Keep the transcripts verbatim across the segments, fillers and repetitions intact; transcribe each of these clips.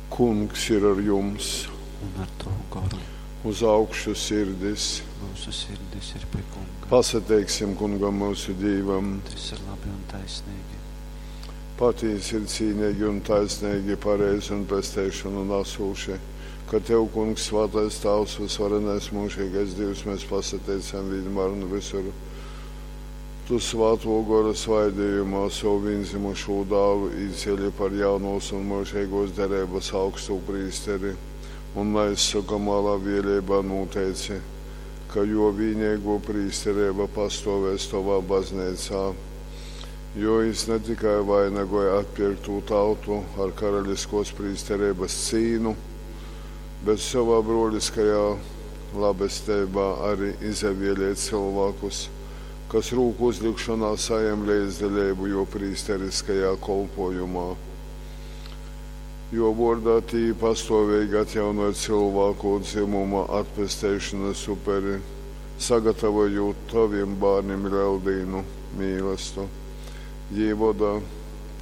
Kungs ir ar jums! Un ar tavu goru. Uz augšu sirdis! Mūsu sirdis ir pie Kunga. Pasateiksim Kungam mūsu Dīvam! Tas ir labi un taisnīgi. Patīsi ir cīnīgi un taisnīgi, pareizi un pesteišanu nesūši, ka Tev, Kungs, svētais Tavs, visvarenais mūžīgais Dievs, mēs pasateicam vienmēr un visur. Tu svāto gora svaidījumā savu vienzimušo dālu īceļi par jaunos un mūžīgos derības augstu prīsteri un neizsakamā labvēlībā noteici, ka jo vienīgo prīsterība pastāvēs tavā baznīcā. Jo jis ne tikai vainagoja atpirkto tautu ar karaliskos prīsterības cīnu, bet savā broliskajā labestībā arī izavēlēja cilvēkus, kas rūku uzlikšanā sajem līdzdalību jo prīsteriskajā kolpojumā. Jo vordā tī pastāvīgi atjaunoja cilvēku dzimuma atpesteišanas uperi, sagatavojot taviem bērniem Leldīnu mīlestu. Jī voda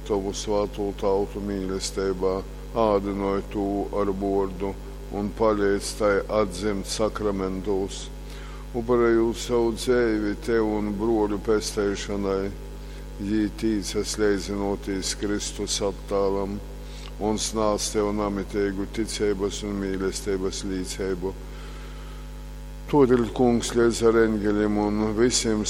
tavu svāto tautu mīlestībā, ādinoja tū ar vordu un palīdz tai atdzimt sakramentos, upurējot savu dzēvi tev un broļu pesteišanai. Jī tīcas leidzinoties Kristus attālam un snāc tev namitīgu ticības un mīlestības līdzību. Todēļ, Kungs, līdz ar eņģeļiem un visiem